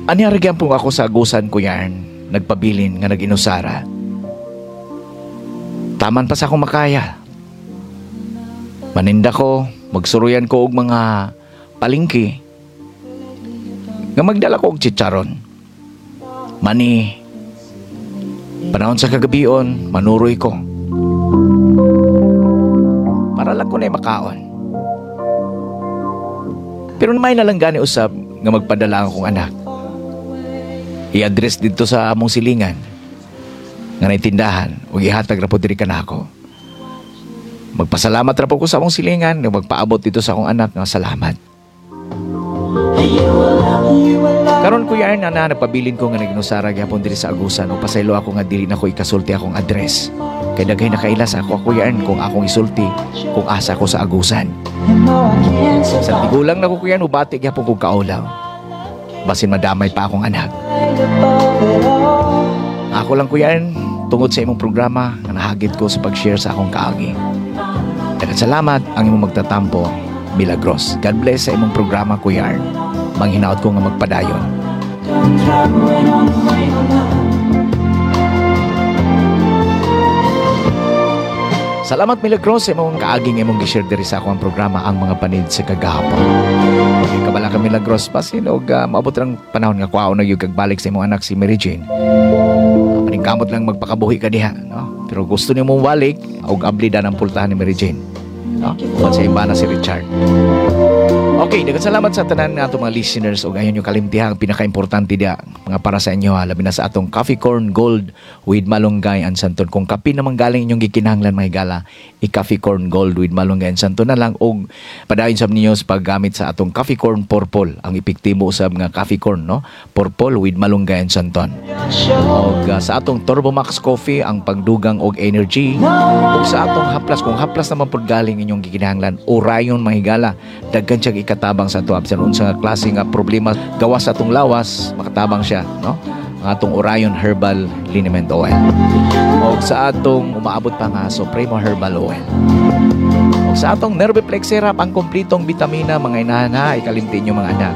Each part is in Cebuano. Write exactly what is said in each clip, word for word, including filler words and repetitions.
Ani ra po ako sa Agusan, Kuya Ern, nagpabilin nga nag-inusara. Taman pa sa akong makaya. Maninda ko, magsuruyan ko og mga palingki nga magdala ko og chicharon. Mani, panahon sa kagabion, manuroy ko. Para lang ko na makaon. Pero may na lang gani usab nga magpadala ang akong anak. I-address dito sa among silingan nga naitindahan ug ihatag ra po diri kanako. Magpasalamat ra po ko sa among silingan nga magpaabot dito sa akong anak nga salamat. Karon, Kuya Ern, na nagpabilin ko nga nag-inusara gyapon diri sa Agusan ug pasaylo ako nga dili na ko ikasulti akong address. Kay daghay nakaila sa ako, Kuya Ern, kung akong isulti kung asa ko sa Agusan. Sa tigulang na ko, Kuya Ern, ubati gyapon kog kaulaw. Basin madamay pa akong anak. Ako lang, Kuya Ern, tungod sa imong programa nga nahagit ko sa pag-share sa akong kaagi. Daghang salamat, ang imong magtatampo, Milagros. God bless sa imong programa, Kuya Ern. Manghinaot ko nga magpadayon. Don't throw it on the way or not. Salamat, Milagros, sa imong kaaging imong gi-share diri sa akong programa, Ang Mga Panid sa Kagahapon. Okay, kabala ka, Milagros, basin og uh, maabot ang panahon nga kuhaon na gyud kag balik sa imong anak si Mary Jane. Uh, paningkamot lang magpakabuhi ka diha, no? Pero gusto nimo balik og abli dan ang pultahan ni Mary Jane. No? Uban sa iba na si Richard. Okay, daghang salamat sa tanan nga atong mga listeners ug ayon yung kalimtiha ang pinakaimportante diya mga para sa inyo ha, labi na sa atong Coffee Corn Gold with Malunggay and Santon. Kung kape naman galing inyong gikinahanglan, mga higala, i-Coffee Corn Gold with Malunggay and Santon na lang og padayon sab ninyo sa paggamit sa atong Coffee Corn Purple, ang epektibo usab nga coffee corn, no? Purple with Malunggay and Santon. Og uh, sa atong Turbo Max Coffee, ang pagdugang og energy, ug sa atong haplas, kung haplas naman pud galing inyong gikinahanglan, Orion, mga higala, daghan siyang ikatabang sa ato bisan unsa nga klase nga problema gawas sa atong lawas, makatabang siya, no, ang atong Orion Herbal Liniment Oil. Og sa atong umaabot pa nga Supremo Herbal Oil. Og sa atong Nerviplex Syrup, ang kompletong bitamina, mga inahan ha, ikalimtin nyo, mga anak.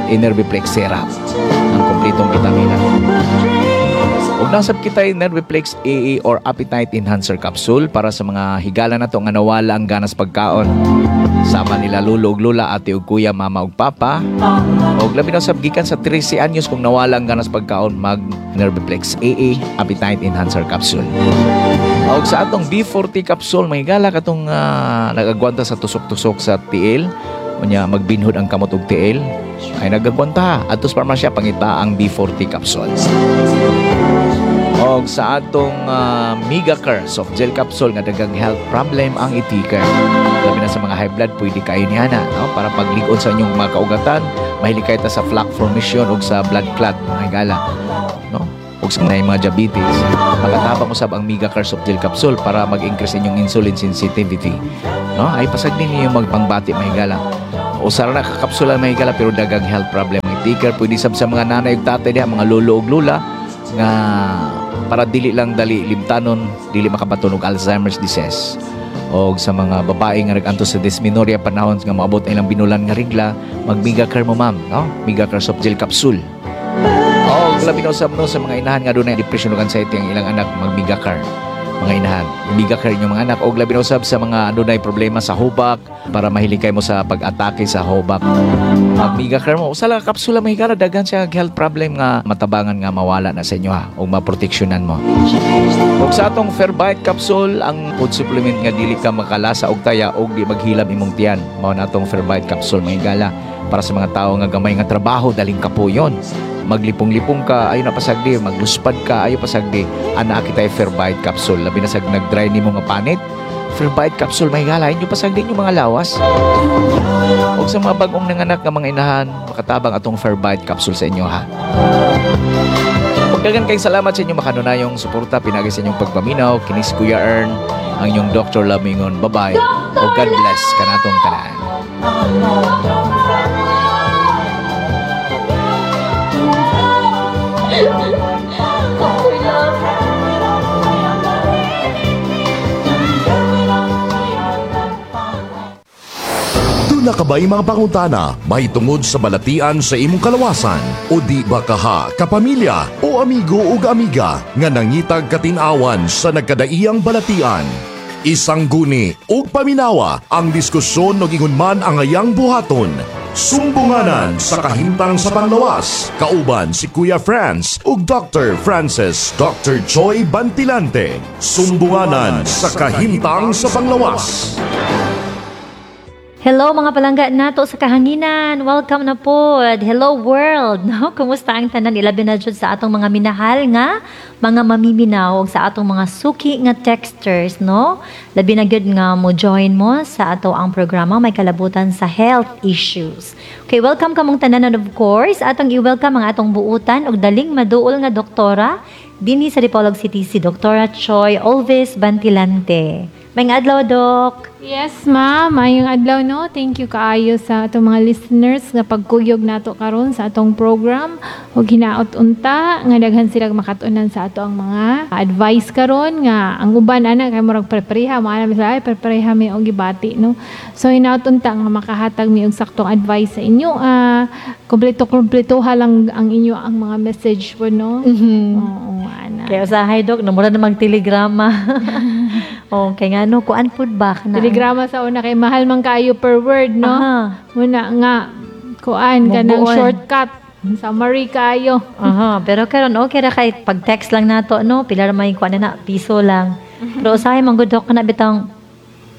Nerviplex Syrup, ang kompletong bitamina. Ug nasab kita yung Nerviplex A A or Appetite Enhancer Capsule para sa mga higala na to nga nawala ang ganas pagkaon. Sama nila lolo ug lola, ate ug kuya, mama ug papa. Og labi na sab gikan sa thirteen anyos, kung nawala ang ganas pagkaon, mag Nerviplex A A Appetite Enhancer Capsule. Og sa atong B forty capsule, may gala katong uh, nagagwanta sa tusok-tusok sa tiil, unya magbinhod ang kamot og tiil, ay nagagwanta adto sa parmasya, pangita ang B forty capsule. Og sa atong uh, Megacare soft gel capsule nga daghang health problem ang i-take care. Labi na sa mga high blood, pwede kayo niya na, no? Para paglig-on sa inyong mga kaugatan, mahilig kayo ta sa plaque formation ug sa blood clot, mga higala. No? Ug sa mga mga diabetes, makatabang usab ang Megacare soft gel capsule para mag-increase inyong insulin sensitivity. No? Ay pasagdi ninyo magpangbati, mga higala. Usara na ka kapsula, mga higala, pero daghang health problem ang i-take care. Pwede sab sa mga nanay ug tatay diha, mga lolo ug lola nga para dili lang dali limtanon, dili makabaton og Alzheimer's disease. Og sa mga babae nga nag-antos sa dysmenorrhea, panahon nga maabot ang ilang binulan nga regla, mag Megacare mo, ma'am, no? Megacare soft gel capsule. Og labi na usab, no, sa mga inahan nga dunay depression ug anxiety ang ilang anak, mag Megacare. Mga inahan, Megacare inyong mga anak. Og labi na usab sa mga adunay problema sa hubak, para mahilig kay mo sa pag-atake sa hubak. Mag Megacare mo. Usa lang ka kapsula, mga higala, daghan siya health problem nga matabangan nga mawala na sa inyo ha ug maproteksyonan mo. Ug sa atong Fairbyte capsule, ang food supplement nga dili ka makalasa og taya og di maghilam imong tiyan. Mao na atong Fairbyte capsule, mga higala, para sa mga tao nga gamay nga trabaho, daling kapuyon. Maglipong-lipong ka, ayo na pasagdi, magluspad ka, ayo pasagdi. Ana kita Fairbyte capsule. Labi na sa nag-dry nimo nga panit. Fairbyte capsule, mga higala, inyo pasagdi inyong mga lawas. Ug sa mga bagong nanganak nga mga inahan, makatabang atong Fairbyte capsule sa inyo ha. Pagdagan kayong salamat sa inyong makanunayong suporta pinagi sa inyong pagpaminaw. Kini si Kuya Ern, ang inyong Doctor Lamingon. Bye-bye. O God bless kanatong tanan. Doctor Love. Naa ka ba'y mga pangutana mahitungod sa balatian sa imong kalawasan o di ba kaha kapamilya o amigo ug amiga nga nangitag katin-awan sa nagkadaiyang balatian? Isangguni ug paminawa ang diskusyon ug ingon man ang ayang buhaton. Sumbunganan sa kahimtang sa panglawas. Kauban si Kuya Franz ug Doctor Francis Doctor Choi Bantilante. Sumbunganan sa kahimtang sa panglawas. Hello, mga palangga nato sa kahanginan. Welcome na po. Hello, world. No? Kumusta ang tanan, ilabi na jud sa atong mga minahal nga mga mamiminaw ug sa atong mga suki nga texters, no? Labi na gyud nga mo join mo sa ato ang programa may kalabutan sa health issues. Okay, welcome kamong tanan, and of course, atong i-welcome ang atong buutan ug daling maduol nga doktora dinhi sa Dipolog City, si Doktora Choi Olvis Bantilante. Maayong adlaw, Dok. Yes, ma'am. Maayong adlaw, no. Thank you kaayo sa atong mga listeners nga pagkuyog nato karon sa atong program. Ug hinaot unta nga daghan sila makat-unan sa ato ang mga advice karon nga ang uban ana kay murag prepareha mo ana sila, ay, prepareha mi og gibati, no. So hinaot unta nga makahatag mi og saktong advice sa inyo. Ah, kompleto kompleto lang ang inyo ang mga message po, no. Oo, ana. Kaya usahay, Dok, no, mura na magtelegrama. Okay, nga no, kuan pud ba kana? Telegrama sa una kay mahal man kaayo per word, no? Aha. Muna nga kuan kanang Mubuon. Shortcut, summary kaayo. Aha, pero karon okay ra kay pag text lang nato, no, pila ra may kuan na na, piso lang. Pero usahay man gud, Dok, kana bitang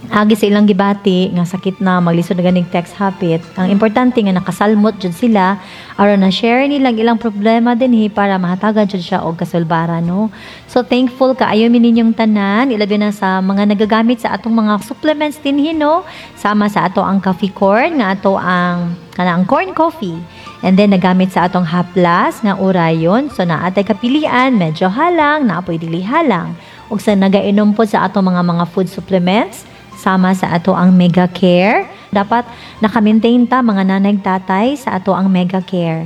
agi sa ilang gibati nga sakit na, maglisod na ganing text hapit. Ang importante nga nakasalmot jud sila aron na share nilang ilang problema dinhi para mahatagan jud siya og kasulbaran, no. So thankful kaayo mi ninyong tanan, ilabi na sa mga nagagamit sa atong mga supplements dinhi, no, sama sa ato ang coffee corn nga ato ang kana ang corn coffee. And then nagamit sa atong haplas nga Orion. So naa tay kapilian, medyo halang, naa poy dili halang. Ug sa nagainom po sa atong mga mga food supplements, sama sa ato ang Mega Care. Dapat naka-maintain ta, mga nanay tatay, sa ato ang Mega Care.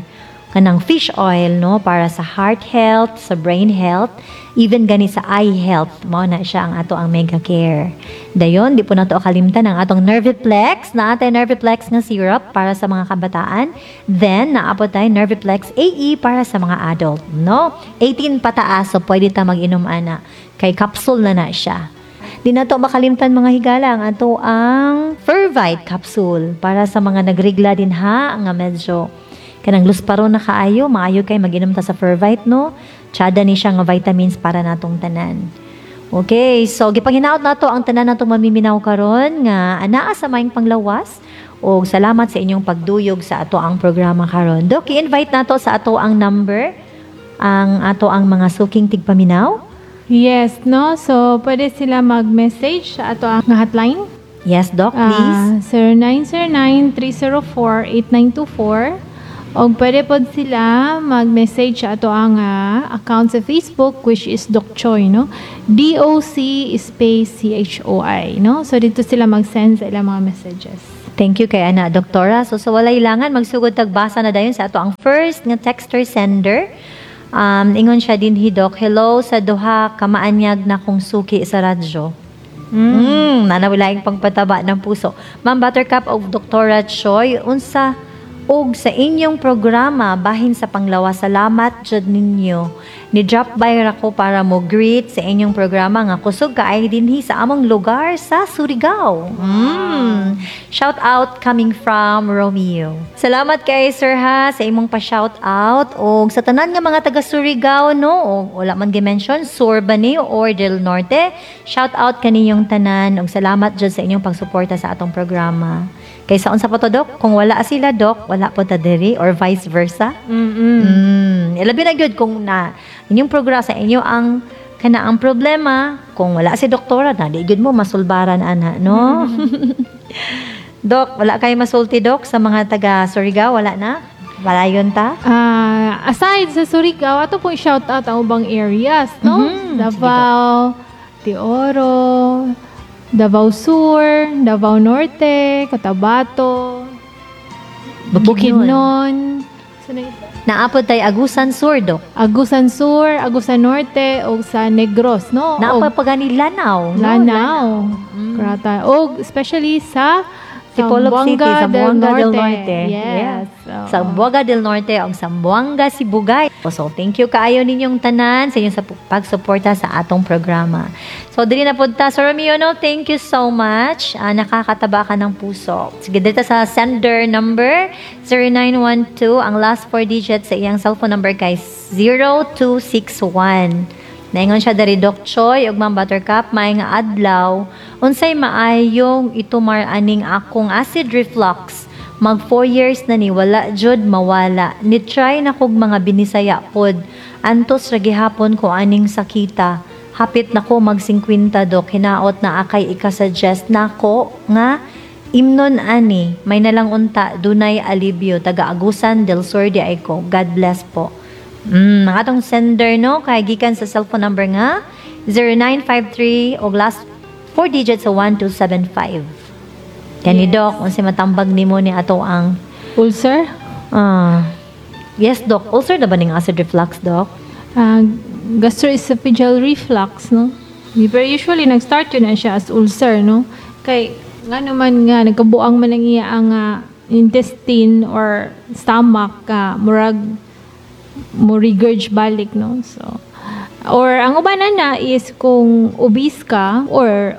Kanang fish oil, no, para sa heart health, sa brain health, even gani sa eye health, mao na siya ang ato ang Mega Care. Dayon, di po nato kalimtan ang atong Nerviplex, naa tay Nerviplex nga syrup para sa mga kabataan. Then naa po tay Nerviplex A E para sa mga adult, no? eighteen pataas, so pwede ta mag-inom ana kay capsule na na siya. Di na to makalimtan, mga higala, ang ato ang Fervite capsule para sa mga nagrigla din ha nga medyo kanang lusparo na kaayo, maayo kay mag-inom ta sa Fervite, no. Tsada ni siya nga vitamins para natong tanan. Okay, so gipanghinaot nato ang tanan natong mamiminaw karon nga anaa sa maayong panglawas og salamat sa inyong pagduyog sa ato ang programa karon. Dok, i-invite nato sa ato ang number ang ato ang mga suking tigpaminaw. Yes, no? So, pwede sila mag-message sa ato ang hotline. Yes, Doc, please. Ah, zero nine zero nine, three zero four, eight nine two four. O pwede pod sila mag-message sa ato ang ah, account sa Facebook, which is Doc Choi, no? D O C space C H O I, no? So dito sila mag-send sa ilang mga messages. Thank you kay ana, Doktora. So sa walay langan, magsugod tagbasa na dayon sa ato ang first nga texter sender. Um, ingon siya din Doc, "Hello sa duha kamaanyag na kong suki sa radyo." Mm, nanawalaing pangpataba ng puso. "Ma'am Buttercup of Doktora Choi, unsa og sa inyong programa bahin sa panglawas, salamat jud ninyo. Ni drop by ra ko para mo greet sa inyong programa nga kusog kaayo dinhi sa among lugar sa Surigao. Mm. Shout out coming from Romeo." Salamat kay sir ha sa imong pa shout out og sa tanan nga mga taga Surigao, no, og wala man gi-mention, Sur ba ni or del Norte. Shout out kaninyong tanan og salamat jud sa inyong pagsuporta sa atong programa. Kay sa unsa pa to, Dok, kung wala sila, Dok, wala po ta diri or vice versa. Mm-mm. Mm, ilabi na gyud kung na inyong programa sa inyo ang kana ang problema, kung wala si doktora na, di gyud mo masulbaran ana, no? Dok, wala kay masulti, Dok, sa mga taga Surigao, wala na? Wala ta? Ah, aside sa Surigao, ato pong shout out ang ubang areas, no? Mhm. Davao de Oro, Davao Sur, Davao Norte, Cotabato, Bukidnon. Saan na ito? Naa pod tay Agusan Sur, Dok. Agusan Sur, Agusan Norte, o sa Negros, no? Naa Og pa gani Lanao, no? Lanao. Mm. Krata. Og especially sa Dipolog City, Zamboanga Zamboanga del del Norte. Norte. Yes. Yeah. Oo. Zamboanga del Norte og Zamboanga Sibugay. So, thank you kaayo ninyong tanan sa inyong sa pagsuporta sa atong programa. So, diri na pud ta. Sir Romeo, no, thank you so much. Ah, nakakataba ka ng puso. Sige, dito sa sender number zero nine one two. Ang last four digits sa iyang cellphone number kay zero two six one. Naingon siya dari, "Doc Choi ug Ma'am Buttercup, maayong adlaw. Unsay maayong itumar aning akong acid reflux? Mag four years na ni, wala jud mawala. Ni try na kog mga binisaya pod. Antos ra gihapon ko aning sakita. Hapit na ko mag singkwenta, Dok. Hinaot naa kay ika-suggest nako nga imnon ani. May nalang unta dunay alibyo. Taga Agusan del Sur diay ko. God bless po." Mm, ang atong sender, no, kay gikan sa cellphone number nga zero nine five three og last four digits sa one two seven five. Kani, Yes. Doc, unsay matambag nimo ni ato ang Ulcer? Ah. Yes, Doc. Ulcer na ba ning acid reflux, Doc? Uh, gastroesophageal reflux, no? Pero usually, nag-start yun na siya as ulcer, no? Kay, nga naman nga, nagkabuang man ang iya ang ah, intestine or stomach ka, murag, mo regurge balik, no? So, or ang uban na is kung obese ka or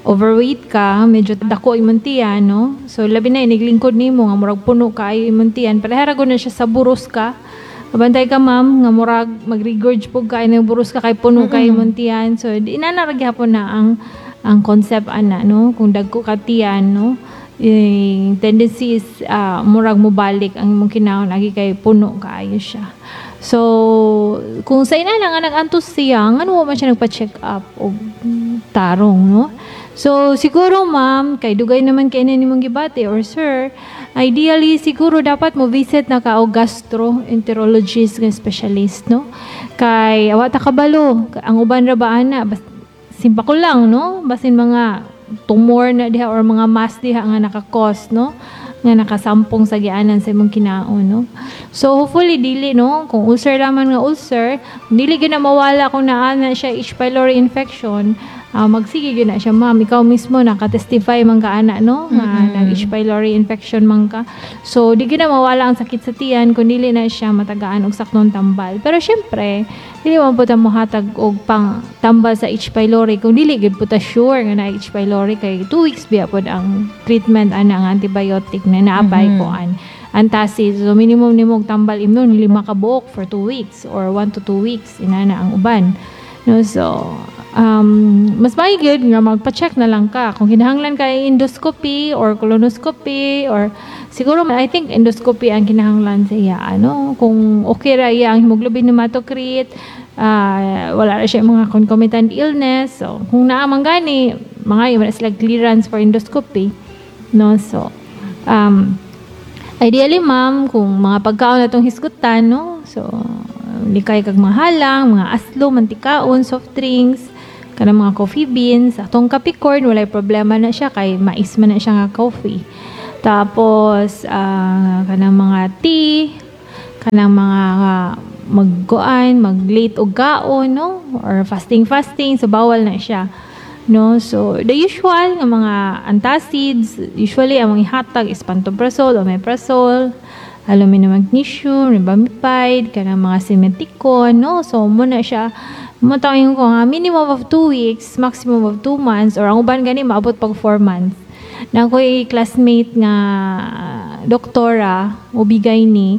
overweight ka, medyo dako imong tiyan, no? So, labi na iniglingkod nimo nga murag puno kaayo imong tiyan, pareha ra gud na siya sa buros ka. Kabantay ka, ma'am, nga murag mag-regurge pud ka ng buros ka kay puno kay imong tiyan. So, di na ra gyapon na ang ang concept ana, no? Kung dagko ka tiyan, no? Eh, tendency is ah, murag mobalik ang imong kinaon agi kay puno kaayo siya. So, kung sa ina nga nag-antos siya, ngano man siya nagpa-check up og tarong, no? So, siguro, ma'am, kay dugay naman kay na nimong gibati or sir, ideally siguro dapat mo visit na ka og gastroenterologist nga specialist, no? Kay awa ta kabalo, ang uban ra ba ana, bas, simpa ko lang, no? Basin mga tumor na diha or mga mass diha nga naka-cause, no? Nga nakasampong sa gianan sa imong kinaon, no? So, hopefully, dili, no? Kung ulcer raman nga ulcer, dili gyud na mawala kung naa na siya H. pylori infection, ah, magsige gyud na siya, ma'am. Ikaw mismo nakatestify man ka ana, no? Nga nag H. pylori infection man ka. So, di gyud na mawala ang sakit sa tiyan kung dili na siya matagaan og saktong tambal. Pero syempre, dili man po ta mohatag og pang tambal sa H. pylori kung dili gyud po ta sure nga na H. pylori, kay two weeks biya pod ang treatment ana ang antibiotic na naabay mm -hmm. ko an antacid. So minimum nimo og tambal imnon lima ka buok for two weeks or one to two weeks inana ang uban. No, so um, mas maigi nga magpa-check na lang ka kung kinahanglan ka endoscopy or colonoscopy, or siguro I think endoscopy ang kinahanglan sa iya, ano, kung okay ra iya ang hemoglobin, hematocrit, uh, wala ra siya mga concomitant illness. So kung naa man gani, mga wala sila clearance for endoscopy, no? So um, ideally, ma'am, kung mga pagkaon na itong hisgutan, no? So likay kag mga halang, mga aslo, mantikaon, soft drinks, kanang mga coffee beans, atong Capricorn, walay problema na siya kay mais man na siya nga coffee. Tapos uh, kanang mga tea, kanang mga uh, magkuan, mag-late og kaon, no? Or fasting fasting, so bawal na siya. No? So, the usual nga mga antacids, usually ang mga ihatag is pantoprazole, omeprazole, aluminum magnesium, rebamipide, kanang mga simeticone, no? So, muna siya, mo ko nga minimum of two weeks, maximum of two months, or ang uban gani maabot pag four months. Na ako'y classmate nga doktora, ubigay ni,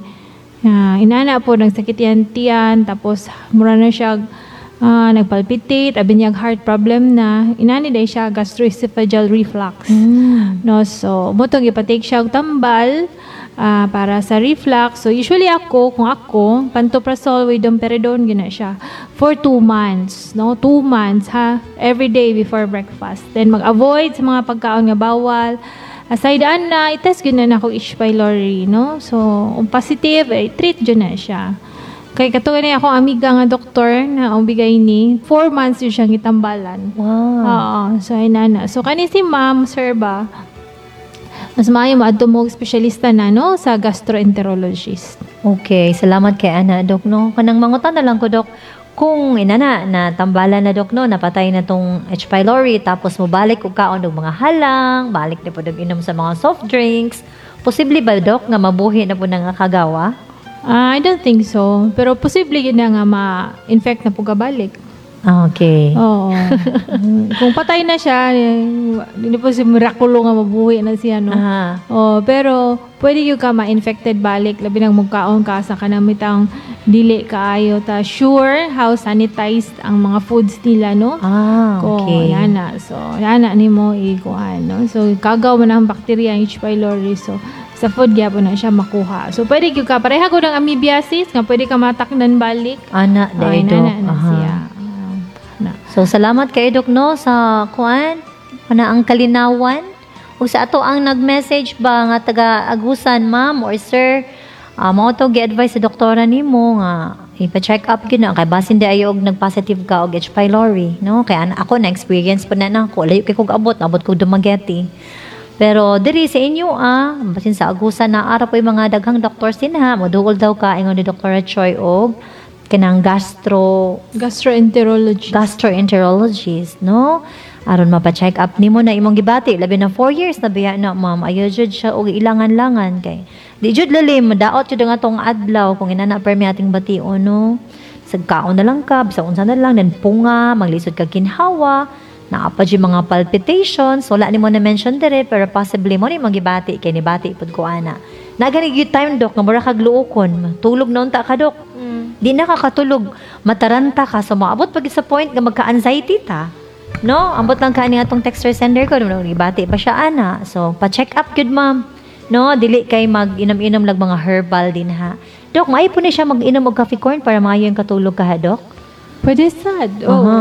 nga inana po, nagsakit yan tiyan, tapos mura na siya uh, nagpalpitate, abi niya heart problem na, inani day siya gastroesophageal reflux. Mm. No, so mo tong ipatake siya og tambal uh, para sa reflux. So usually ako, kung ako, pantoprazole with domperidone gina siya for two months, no? Two months ha, every day before breakfast. Then mag-avoid sa mga pagkaon nga bawal. Aside ana, i-test gyud na nako H. pylori, no? So, kung positive, eh, treat gyud na siya. Kay kato ni akong amiga nga doktor na ang bigay ni, four months yun siyang gitambalan. Wow. Oo. So, ay nana. So, kani si ma'am, sir ba, mas maayo mo adto mo og espesyalista na, no, sa gastroenterologist. Okay, salamat kay ana, Dok, no. Kanang mangutan na lang ko, Dok. Kung inana na tambalan na, Dok, no, napatay na tong H. pylori, tapos mobalik og kaon og mga halang, balik na pud og inom sa mga soft drinks, posible ba, Dok, nga mabuhi na pud nga kagawa? Ah, I don't think so. Pero posible gyud na nga ma-infect na pud balik. Okay. Oo. Kung patay na siya, eh, hindi po si miraculo nga mabuhi na siya, no? Aha. Oh, pero pwede gyud ka ma-infected balik, labi nang mugkaon ka sa kanang mitang dili kaayo ta sure how sanitized ang mga foods nila, no? Ah, Ko, okay. yana. So, yana nimo ikuan, no? So, kagaw man ang bakterya ang H. pylori. So, sa food gyapon na siya makuha. So, pwede gyud ka pareha ko ng amoebiasis nga pwede ka mataknan balik. Ana, Oh, dai, Dok. na, na Aha. siya. Ah, na. So salamat kay Dok, no, sa kuan kana ang kalinawan ug sa ato ang nag-message ba nga taga Agusan, ma'am or sir, uh, mao to gi-advise sa doktora nimo nga ipa-check up gyud na kay basin di ayo og nag-positive ka og H. pylori, no? Kay ana ako na experience pa na nako, layo kay kog abot, abot kog Dumaguete. Pero diri sa inyo ah, basin sa Agusan na ara po yung mga daghang doctors din ha, moduol daw ka ingon ni Doctor Choi og kanang gastro Gastroenterology. Gastroenterologist, no? Aron mapa-check up nimo na imong gibati, labi na four years na biya na, ma'am. Ayo jud siya og ilangan-langan kay di jud lalim, madaot jud ang atong adlaw kung inana permi ating bation, no? Sagkaon na lang ka, bisag unsa na lang, then punga, maglisod ka ginhawa, naa pa jud mga palpitations, wala nimo na mention dire, pero possibly mo ni magibati kay nibati pud ko ana. Nagani gyud time, Dok, nga mura kag luokon, tulog na unta ka, Dok. Di na ka katulog, mataranta ka, so maabot pag sa point nga magka-anxiety ta. No, ambot lang ka ni atong texter sender ko, no, ibati pa siya ana. So, pa-check up gyud, ma'am. No, dili kay mag-inom-inom lag mga herbal din ha. Dok, maayo po ni siya mag-inom og coffee corn para maayo yung katulog ka ha, Dok? Pwede sad. Oo. Aha.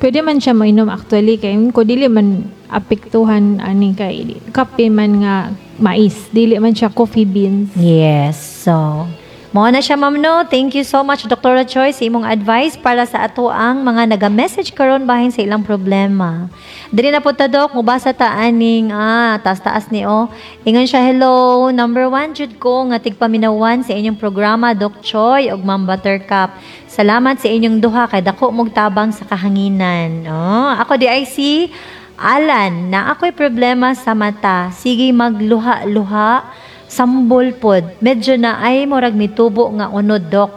Pwede man siya mainom actually kay ko dili man apektuhan ani kay kape man nga mais, dili man siya coffee beans. Yes. So, mao na siya, ma'am, no. Thank you so much, Doctor Choi, sa imong advice para sa ato ang mga naga-message karon bahin sa ilang problema. Diri na po ta, Dok, mubasa ta aning ah, taas-taas ni oh. Ingon siya, "Hello, number one jud ko nga tigpaminawan sa inyong programa, Doc Choi ug Ma'am Buttercup. Salamat sa inyong duha kay dako mog tabang sa kahanginan." Oh, ako di ay si Alan, na ako'y problema sa mata. Sige magluha-luha, sambol pod. Medyo na ay murag mitubo nga unod, Dok.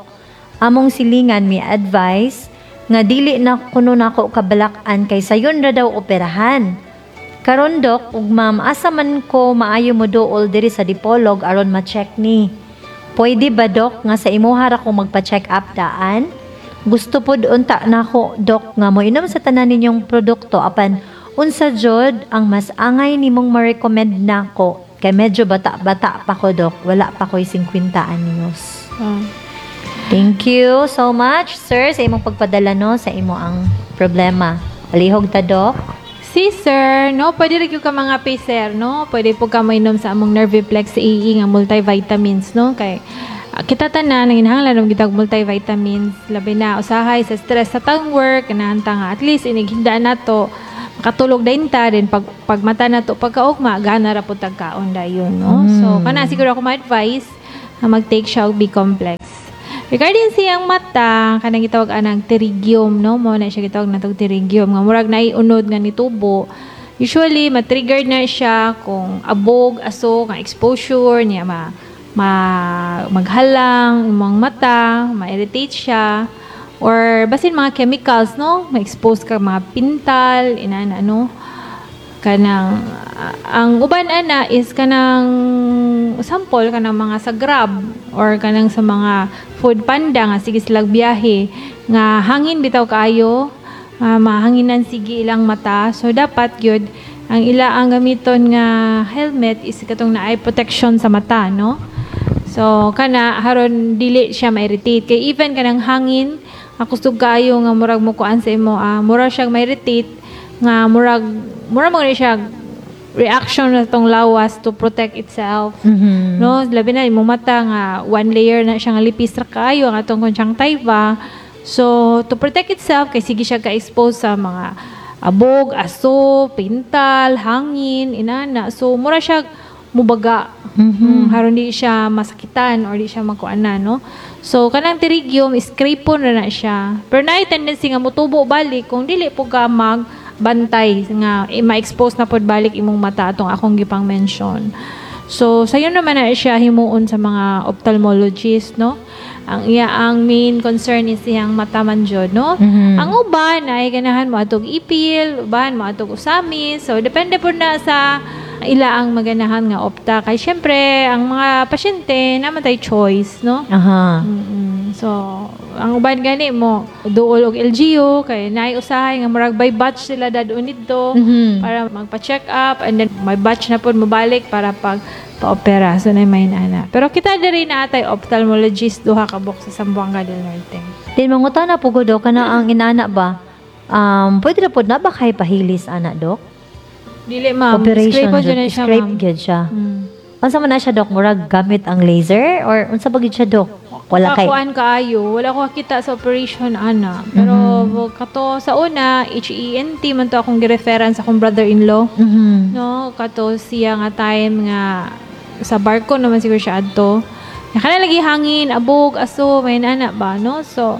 Among silingan mi advice nga dili na kuno nako kabalak-an kay sayon ra daw operahan. Karon, Dok ug ma'am, asa man ko maayo mo duol diri sa Dipolog aron ma-check ni? Pwede ba, Dok, nga sa imuha ra ko magpa-check up daan? Gusto pod unta nako, Dok, nga moinom sa tanan ninyong produkto, apan unsa jud ang mas angay nimong ma-recommend nako kay medyo bata-bata pa ko, Dok, wala pa ko'y singkwenta anyos." Ah. Thank you so much, sir, sa imong pagpadala, no, sa imo ang problema. Palihog ta, Dok. Si sir, no, pwede rin ka mga sir, no? Pwede po ka mainom sa among Nerviplex A E nga multivitamins, no? Kay ah, kita tanan nanginahanglan og gitag multivitamins, labi na usahay sa stress sa tang work, kanahan ta nga at least inighinda nato makatulog din ta din pag pagmata nato pagkaugma, gana ra pud tag kaon dayon, no? So kana siguro ako ma-advise nga mag-take siya og B complex. Regarding siyang mata, kanang gitawag anang pterygium, no? Mo na siya gitawag natog pterygium nga murag naiunod nga nitubo. Usually ma-trigger na siya kung abog, aso, nga exposure niya, ma, ma maghalang imong mata, ma-irritate siya or basin mga chemicals, no? Ma-expose ka mga pintal, inana, no? Kanang ah, ang uban ana is kanang sample kanang mga sa Grab or kanang sa mga Food Panda nga sige silag biyahe nga hangin bitaw kaayo, uh, mahanginan sige ilang mata. So dapat gyud ang ila ang gamiton nga helmet is katong naay protection sa mata, no? So kana haron dili siya ma-irritate kay even kanang hangin akusog kaayo nga murag mo kuan sa imo, ah, mura siyang ma-irritate nga murag mura mo ni siya reaction na tong lawas to protect itself, Mhm. no? Labi na imong mata nga one layer na siya nga lipis ra kaayo ang atong conjunctiva. So to protect itself kay sige siya ka-expose sa mga abog, aso, pintal, hangin, inana. So mura siya Mubaga. Mhm. Mm, haron di siya masakitan or di siya makuana, no? So kanang pterygium, scrape po na na siya. Pero naay tendency nga mutubo balik kung dili po ka mag bantay nga eh, ma-expose na pod balik imong mata atong akong gipang mention. So sayon naman na siya himuon sa mga ophthalmologist, no? Ang iya ang main concern is iyang mata man jud, no? Mhm. Ang uban ay ganahan mo atog ipil, uban mo atog usamis. So depende po na sa ila ang maganahan nga opta kay syempre ang mga pasyente naman tay choice, no? Aha. Mm-mm. So, ang uban gani mo duol og L G U kay naay usahay nga murag by batch sila dadun didto Mhm. para magpa-check up and then may batch na pod mobalik para pag pa-opera. So, na may nana. Pero kita diri na atay ophthalmologist, duha ka buok sa Zamboanga del Norte. Din mangutana po ko, Dok, kana ang inana ba? Um, pwede na po na ba kay pahilis ana, Dok? Dili, ma'am. Operation Scrape po jud. jud na siya, Scrape ma'am. gyud siya. Mm. Unsa man na siya, Dok? Murag gamit ang laser or unsa ba gyud siya, Dok? Wala kay Kakuan kaayo, wala ko kakita sa operation ana. Pero Mm-hmm. kato sa una, H E N T man to akong gireference sa akong brother-in-law. Mhm. No, kato siya nga time nga sa barko naman siguro siya adto. Nakana lagi hangin, abog, aso, may nana ba, no? So,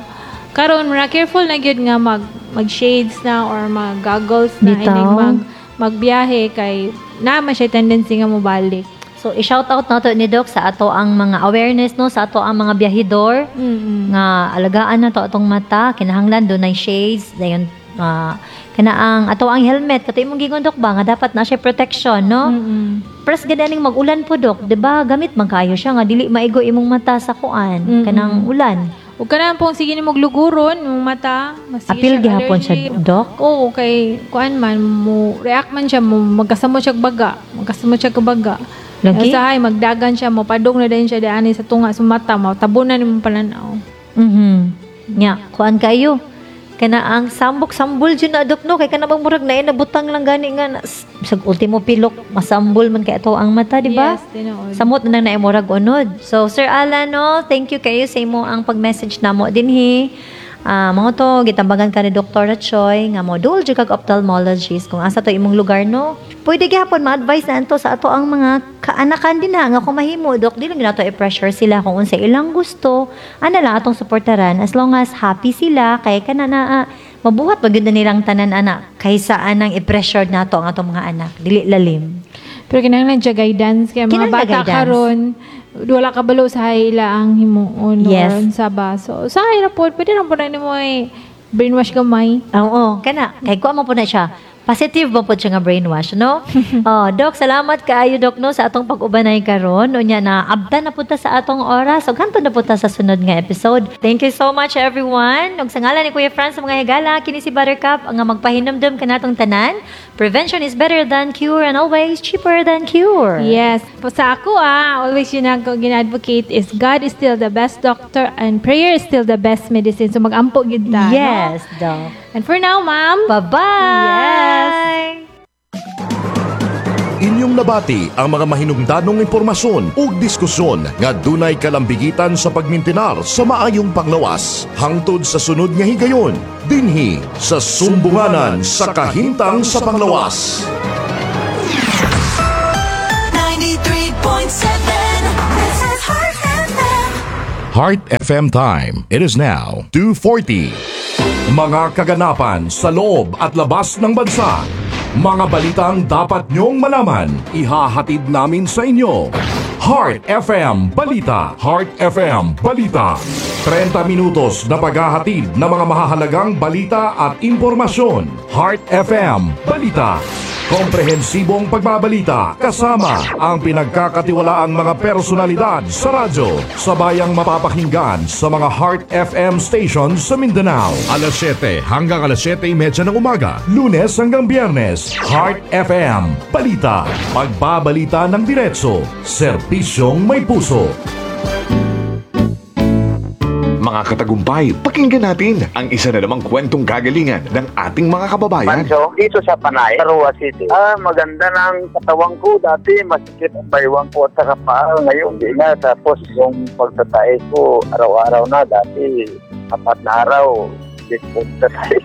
karon mura careful na gyud nga mag mag shades na or mag goggles na Bitaw. inig mag magbiyahe kay na man siya tendency nga mobalik. So i-shout out nato ni Doc sa ato ang mga awareness, no, sa ato ang mga biyahidor Mm. nga alagaan na to atong mata, kinahanglan dunay shades, dayon uh, kana ang ato ang helmet, kato imong giingon, Dok, ba nga dapat na siya protection, no? Mm. Pres gananing mag-ulan po, Dok, 'di ba? Gamit man kayo siya nga dili maigo imong mata sa kuan, Mm-mm. kanang ulan. Ug kanang pong sige nimo gluguron imong mata, masige Apil siya gihapon siya, allergy. Dok. Oo, kay kuan man mo react man siya, mo magkasamo siya baga, magkasamo siya baga. Lagi? Usahay magdagan siya, mo padong na din siya diani sa tunga sa mata, mo tabunan imong pananaw. Mhm. Nya, kuan kayo. Kana ang sambok-sambol jud na, Dok, no, kay kana bang murag na nabutang lang gani nga na, sa ultimo pilok masambol man kay ato ang mata, di ba? Yes, tinuod. Samot na nang naimurag unod. So, Sir Alan, no, thank you kayo sa imo ang pag-message namo dinhi. Ah, mga to, gitambagan ka ni Doctor Choi nga mo duol jud kag ophthalmologist kung asa to imong lugar, no. Pwede gihapon ma-advise na anto sa ato ang mga kaanakan din ha nga kung mahimo, Dok, dili lang nato i-pressure sila kung unsa ilang gusto. Ana lang atong suportaran as long as happy sila kay kana na ah, mabuhat ba gyud na nilang tanan ana kaysa anang i-pressure nato ang atong mga anak. Dili lalim. Pero kinahanglan siya guidance kay mga Kinahanglan bata guidance. karon wala kabalo sa ila ang himuon Yes. or unsa ba. So sa ra pod, pwede ra pod na nimo eh, brainwash gamay. Oo, kana. Kay kuha mo po na siya. Positive ba po siya nga brainwash, no? Oh, Dok, salamat kaayo, Dok, no, sa atong pag-ubanay karon. Unya na abta na punta sa atong oras. Ug hantod na punta sa sunod nga episode. Thank you so much, everyone. Ug sa ngalan ni Kuya Franz sa mga higala, kini si Buttercup ang nga magpahinumdum kanatong tanan. Prevention is better than cure and always cheaper than cure. Yes. Po sa ako ah, always yun ang gina-advocate is God is still the best doctor and prayer is still the best medicine. So magampo gid ta, no? Yes, Dok. And for now, ma'am, Bye-bye. Yes. Inyong nabati ang mga mahinungdanong impormasyon ug diskusyon nga dunay kalambigitan sa pagmintinar sa maayong panglawas hangtod sa sunod nga higayon dinhi sa Sumbunganan sa Kahimtang sa Panglawas. ninety-three point seven. This is Heart F M. Heart F M time. It is now two forty. Mga kaganapan sa loob at labas ng bansa. Mga balitang dapat nyong malaman. Ihahatid namin sa inyo. Heart F M Balita. Heart F M Balita. trenta minutos na paghahatid ng mga mahahalagang balita at impormasyon. Heart F M Balita. Komprehensibong pagbabalita kasama ang pinagkakatiwalaang mga personalidad sa radyo. Sabayang mapapakinggan sa mga Heart F M stations sa Mindanao. Alas siyete hanggang alas siyete trenta ng umaga, Lunes hanggang Biyernes. Heart F M Balita. Pagbabalita ng diretso. Serbisyong may puso. Mga katagumpay, pakinggan natin ang isa na namang kwentong kagalingan ng ating mga kababayan. Pancho, dito sa Panay, Roa City. Ah, maganda ng katawan ko. Dati, masikip ang baywang ko at saka paa. Ngayon, hindi na. Tapos, yung pagtatae ko, araw-araw na. Dati, apat na araw, hindi ko pagtatae.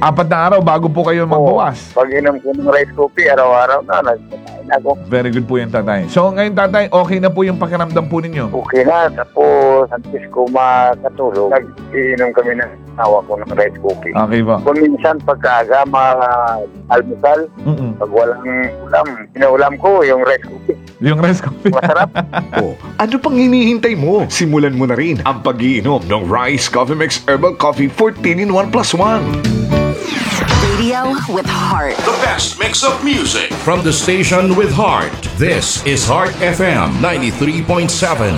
Apat na araw bago po kayo magbawas. Pag inom ko ng rice coffee, araw-araw na, nagkakain ako. Very good po yan, tatay. So ngayon, tatay, okay na po yung pakiramdam po ninyo? Okay na, tapos antes ko makatulog, nag-iinom kami ng asawa ko ng rice coffee. Okay po. Kung minsan pagkaaga, ma-almusal, Mm-mm. pag walang ulam, inuulam ko yung rice coffee. Yung rice coffee. Masarap. Oh, ano pang hinihintay mo? Simulan mo na rin ang pag-iinom ng Rice Coffee Mix Herbal Coffee fourteen in one plus one. Radio with heart. The best mix of music. From the station with heart, this is Heart F M ninety-three point seven.